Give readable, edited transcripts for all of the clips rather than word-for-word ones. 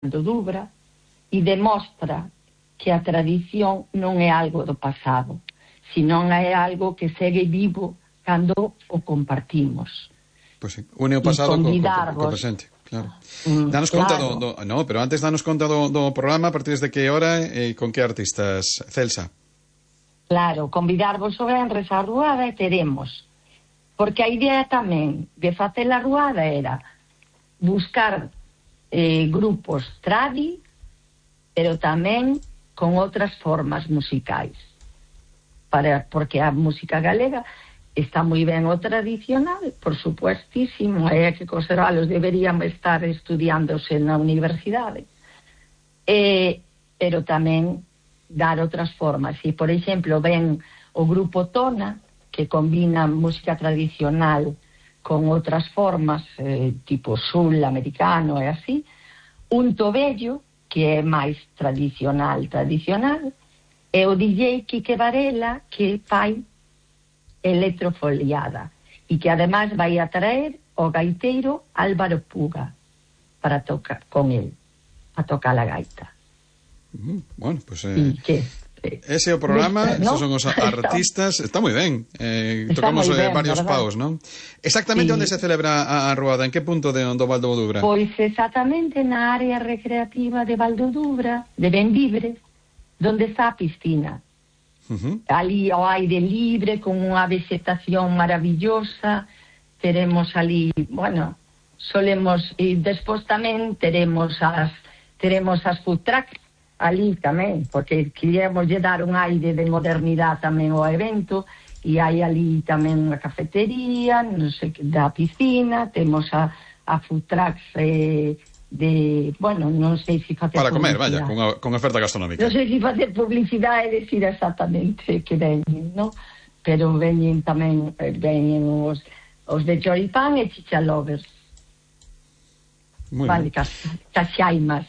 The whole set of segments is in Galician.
do Dubra e demostra que a tradición non é algo do pasado, senón é algo que segue vivo cando o compartimos. Pois sí, une o pasado co presente, claro. Danos conta no, pero antes danos conta do programa, a partir de que hora e con que artistas, Celsa? Claro, convidarvos o venres á ruada e teremos, porque a idea tamén de facer a ruada era buscar grupos tradi, pero tamén con outras formas musicais, porque a música galega está moi ben o tradicional, por supuestísimo, é que conservalos deberían estar estudiándose na universidade, pero tamén dar outras formas. E, por exemplo, ven o grupo Tona, que combina música tradicional con outras formas, tipo sul americano e así, un Tobello, que é máis tradicional, e o DJ Quique Varela, que fai electrofoliada, e que además vai a traer o gaiteiro Álvaro Puga para tocar con él, a tocar a gaita. Bueno, pues ese é o programa, ¿no? Esos son os artistas, está moi ben, tocamos ben, varios paus, non? Exactamente onde se celebra a ruada, en que punto do Val do Dubra? Pois exactamente na área recreativa de Val do Dubra, de Benvibre, donde está a piscina. Ali ao aire libre, con unha vegetación maravillosa, teremos ali, bueno, solemos, e despois tamén teremos as food trucks ali tamén, porque queríamos lle dar un aire de modernidade tamén ao evento, e hai ali tamén unha cafetería, non sei, da piscina, temos a food trucks bueno, non sei se facer para comer, vaya, con oferta gastronómica. Non sei se facer publicidade e decir exactamente que veñen, non? Pero veñen tamén os de choripán e chichalovers. Vale, caxaimas.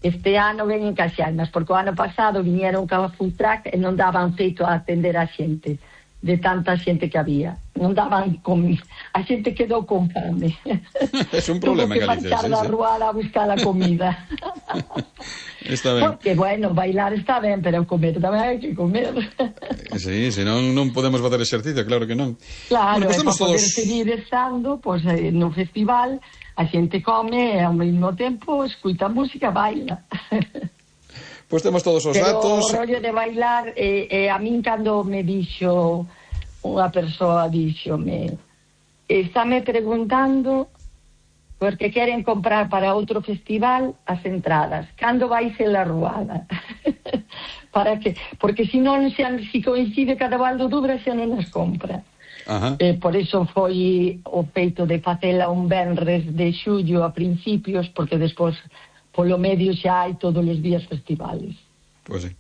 Este ano veñen caxaimas, porque o ano pasado viñeron ca food truck e non daban feito a atender a xente, de tanta xente que había. Non daban comida. A xente quedou con fame. É un problema en Galicia. Tuvo que marchar da ruada a buscar a comida. Está ben. Porque, bueno, bailar está ben, pero comer tamén hai que comer. Sí, senón non podemos facer exercicio, claro que non. Claro, bueno, pues para poder seguir estando no festival, a xente come e ao mesmo tempo escuta música, baila. Pois temos todos os datos. Pero o rollo de bailar, a min cando me dixo unha persoa, estáme preguntando porque queren comprar para outro festival as entradas. Cando vai ser a ruada? Para que? Porque se non se coincide cada Val do Dubra xa non as compra. Por iso foi o feito de facela un venres de xullo a principios, porque despois polo medio xa hai todos os días festivales. Pois sí.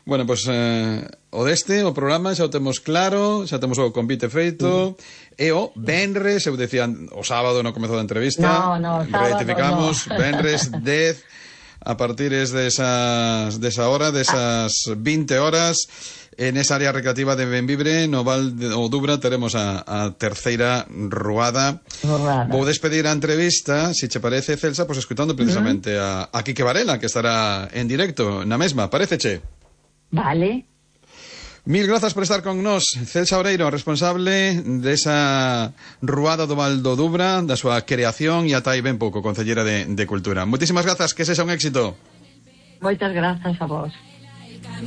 Bueno, pois o programa xa o temos claro, xa temos o convite feito, e o venres, eu decía o sábado no comezo da entrevista, retificamos, venres 10, a partir desa hora, desas 20 horas, en esa área recreativa de Benvibre, no Val do Dubra, teremos a terceira ruada. Vou despedir a entrevista, se che parece, Celsa, pois escutando precisamente a Quique Varela, que estará en directo na mesma. Paréceche? Vale. Mil grazas por estar con nós, Celsa Oreiro, responsable desa ruada do Val do Dubra, da súa creación e ata aí ben pouco, concellera de Cultura. Moitísimas grazas, que sexa un éxito. Moitas grazas a vos.